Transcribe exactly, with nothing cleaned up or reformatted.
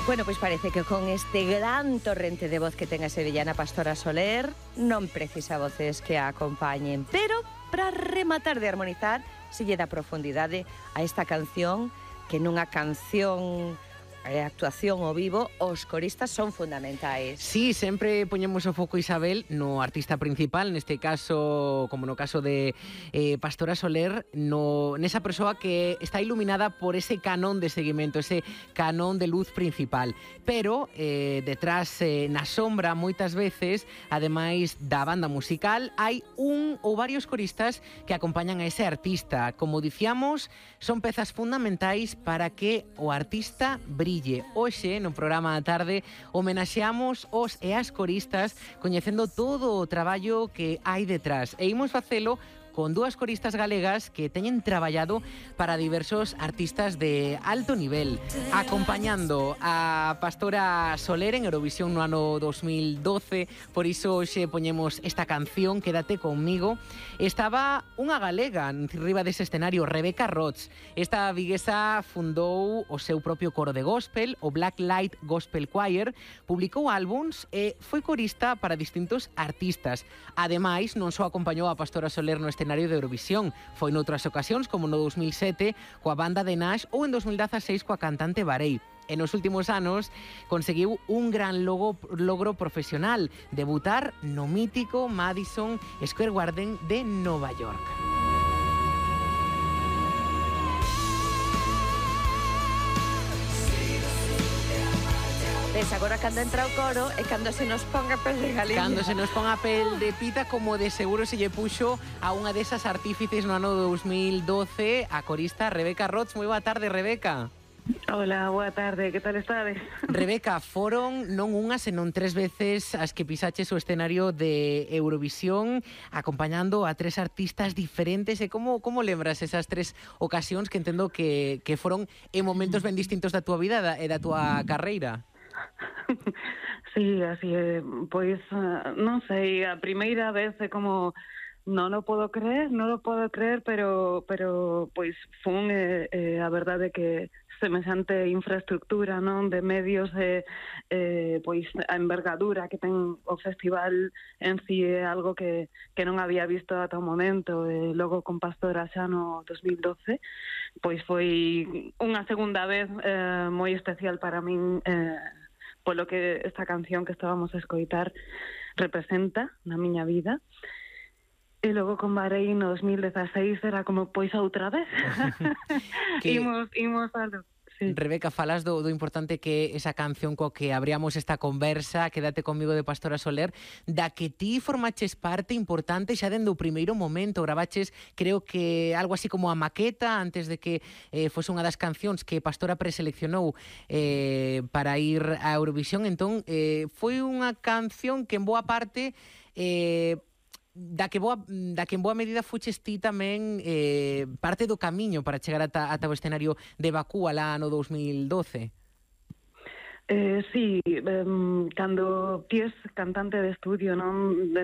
Bueno, pois parece que con este gran torrente de voz que ten a sevillana Pastora Soler non precisa voces que a acompañen, pero para rematar de armonizar se lle dá profundidade a esta canción, que nunha canción e actuación ao vivo, os coristas son fundamentais. Sí, sempre poñemos o foco, Isabel, no artista principal, neste caso, como no caso de eh, Pastora Soler, no, nesa persoa que está iluminada por ese canón de seguimento, ese canón de luz principal. Pero, eh, detrás, eh, na sombra, moitas veces, ademais da banda musical, hai un ou varios coristas que acompañan a ese artista. Como dicíamos, son pezas fundamentais para que o artista brille. Hoxe, no programa da tarde, homenaxeamos os e as coristas coñecendo todo o traballo que hai detrás. E imos facelo con dúas coristas galegas que teñen traballado para diversos artistas de alto nivel, acompañando a Pastora Soler en Eurovisión no ano dos mil doce. Por iso hoxe poñemos esta canción, Quédate conmigo. Estaba unha galega riba dese escenario, Rebeca Rots. Esta viguesa fundou o seu propio coro de gospel, o Black Light Gospel Choir, publicou álbums e foi corista para distintos artistas. Ademais, non só acompañou a Pastora Soler no escenario de Eurovisión, foi noutras ocasións, como no dos mil sete, coa banda de Nash, ou en dos mil dezaseis coa cantante Barei. E nos últimos anos conseguiu un gran logo, logro profesional, debutar no mítico Madison Square Garden de Nova York. Ves, agora cando entra o coro e cando se nos ponga pel de galiña. Cando se nos ponga pel de pita, como de seguro se lle puxo a unha desas artífices no ano dos mil doce, a corista Rebeca Rots. Moi boa tarde, Rebeca. Hola, boa tarde, que tal estades? Rebeca, foron non unha, senón tres veces as que pisaches o escenario de Eurovisión acompañando a tres artistas diferentes. E como, como lembras esas tres ocasións que entendo que, que foron en momentos ben distintos da túa vida e da túa carreira? Sí, así é, pois non sei, a primeira vez é como non o podo creer, non o podo creer, pero pero pois fun eh, eh, a verdade que semexante infraestructura, non, de medios e eh, pois a envergadura que ten o festival en si é algo que, que non había visto ata o momento. E logo con Pastora xa no dos mil doce, pois foi unha segunda vez eh, moi especial para min, eh, polo que esta canción que estábamos a escoitar representa na miña vida. E logo con Barei no dos mil dezaseis era como, pois outra vez. que... imos, imos a... Sí. Rebeca, falas do, do importante que esa canción co que abríamos esta conversa, Quédate conmigo, de Pastora Soler, da que ti formaches parte importante xa dende o primeiro momento. Gravaches, creo que algo así como a maqueta antes de que eh, fose unha das cancións que Pastora preseleccionou eh, para ir a Eurovisión. Entón, eh, foi unha canción que en boa parte... Eh, da que boa, da que en boa medida fuches ti tamén eh, parte do camiño para chegar ata, ata o escenario de Bakú alá no dos mil doce. Eh, sí, eh, cando ti es cantante de estudio, non?